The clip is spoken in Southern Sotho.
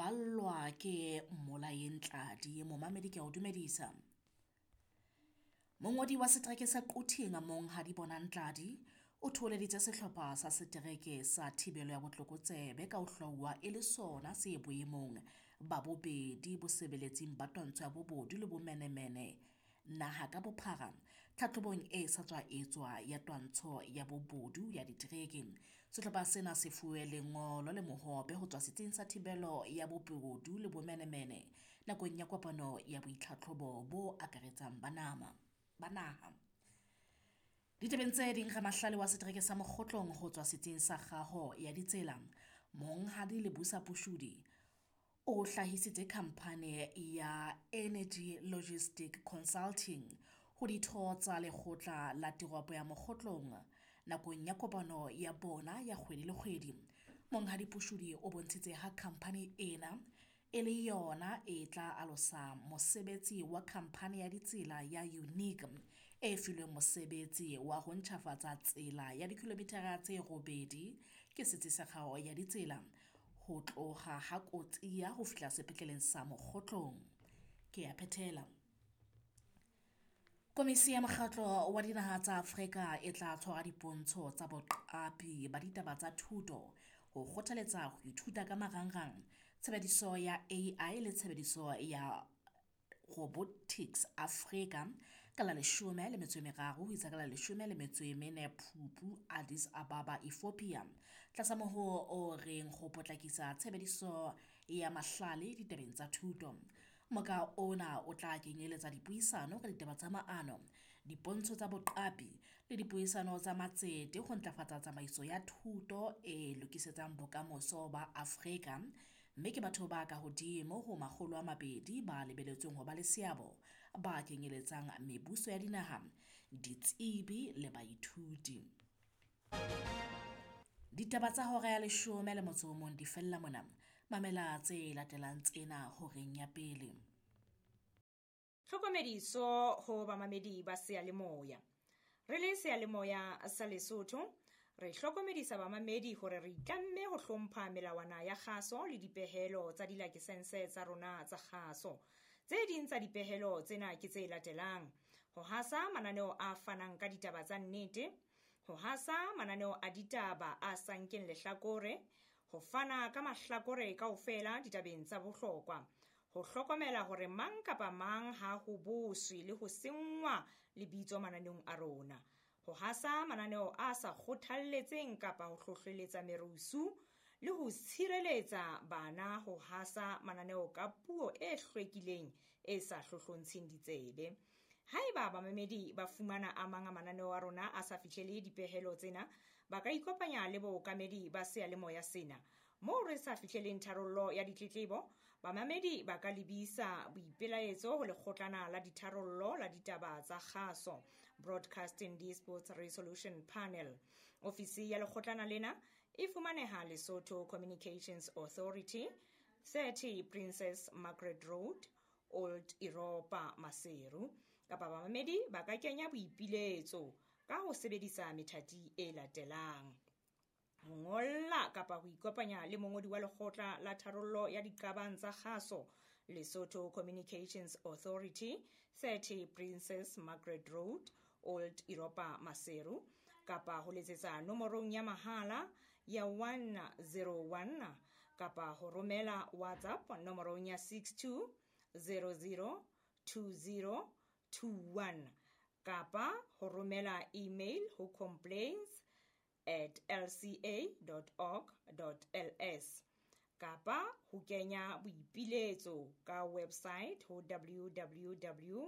ballwa ke Mmolaeng Tladi. Momamedi ke a o dumedisa. Mongodi wa setereke sa Quthing Monghadi Bonang Tladi o thoholeditse sehlopha sa setereke sa thibelo ya botlokotsebe ka ho hlwauwa e le sona se boemong ba bobedi bosebeletsing ba twantsho ya bobodu le bomenemene naha ka bophara tlhatlhobong e sa tswa etswa ya twantsho ya bobodu ya ditereke. Sehlopha sena se fuwe lengolo le mohope ho tswa setsing sa thibelo ya bobodu le bomenemene nakong ya kopano ya boitlhatlhobo bo akaretsang ba nama ba naha. Ditabeng tse ding, ramahlale wa setereke sa Mokgotlong ho tswa setsing sa kgaho ya ditsela, Monghadi Lebusa Pushudi, o hlahisitse khamphane ya Energy Logistic Consulting ho ditho tsa lekgotla la toropo ya Mokgotlong nakong ya kopano ya bona ya kgwedi le kgwedi. Monghadi Pushudi o bontshitse ha khamphane ena e le yona e tla alosa mosebetsi wa khamphane ya ditsela ya Unique e filweng mosebetsi wa ho ntjhafatsa tsela ya dikilomithara tse 8 ke setsi sa kgaho ya ditsela ho tloha ha Kotsia ho fihla sepetleleng sa Mokgotlong. Ke a phethela. Komisi ya Mokgatlo wa Dinaha tsa Afrika e tla tshwara dipontsho tsa boqapi ba ditaba tsa thuto ho kgothaletsa ho ithuta ka marangrang, tshebediso ya AI le tshebediso ya robotics Afrika ka la 13 ho isa ka la 14 Phupu Addis Ababa, Ethiopia, tlasa mohoo o reng ho potlakisa tshebediso ya mahlale ditabeng tsa thuto. Moka ona o tla kenyeletsa dipuisano ka ditaba tsa maano, dipontsho tsa boqapi le dipuisano tsa matsete ho ntlafatsa tsamaiso ya thuto e lokisetsang bokamoso ba Afrika, mme ke batho ba kahodimo ho 200 ba lebelletsweng ho ba le seabo, ba kenyeletsang mebuso ya dinaha, ditsebi le baithuti. Ditaba tsa hora ya 11 di fella mona. Mamela tse latelang tsena horeng ya pele. Tlhokomediso ho bamamedi ba seyalemoya. Re le seyalemoya sa Lesotho, re hlokomedisa bamamedi hore re itlamme ho hlompha melawana ya kgaso le dipehelo tsa dilakesense tsa rona tsa kgaso. Tse ding tsa dipehelo tsena ke tse latelang: ho hasa mananeo a fanang ka ditaba tsa nnete, ho hasa mananeo a ditaba a sa nkeng lehlakore, ho fana ka mahlakore kaofela ditabeng tsa bohlokwa, ho hlokomela hore mang kapa mang ha ho boswe le ho senngwa lebitso mananeong a rona, ho hasa mananeo a sa kgothalletseng kapa ho hlohleletsa merusu le ho tshireletsa bana ho hasa mananeo ka puo e hlwekileng e sa hlohlontsheng ditsebe. Haeba bamamedi ba fumana a mang a mananeo a rona a sa fihlele dipehelo tsena, ba ka ikopanya le bookamedi ba seyalemoya sena. Moo re sa fihleleng tharollo ya ditletlebo, bamamedi ba ka lebisa boipelaetso ho lekgotlana la ditharollo la ditaba tsa kgaso, Broadcasting Disputes Resolution Panel. Ofisi ya lekgotlana lena e fumaneha Lesotho Communications Authority, 30 Princess Margaret Road, Old Europa, Maseru. Kapa bamamedi ba ka kenya boipiletso ka ho sebedisa methati e latelang: ho ngolla kapa ho ikopanya le mongodi wa lekgotla la tharollo ya diqabang tsa kgaso, Lesotho Communications Authority, 30 Princess Margaret Road, Old Europa, Maseru, kapa ho letsetsa nomorong ya mahala ya 101 kapa ho romela WhatsApp nomorong ya 62 00 20 21 kapa ho romela email ho complaints@lca.org.ls kapa ho kenya boipiletso ka website ho www.lca.org.ls.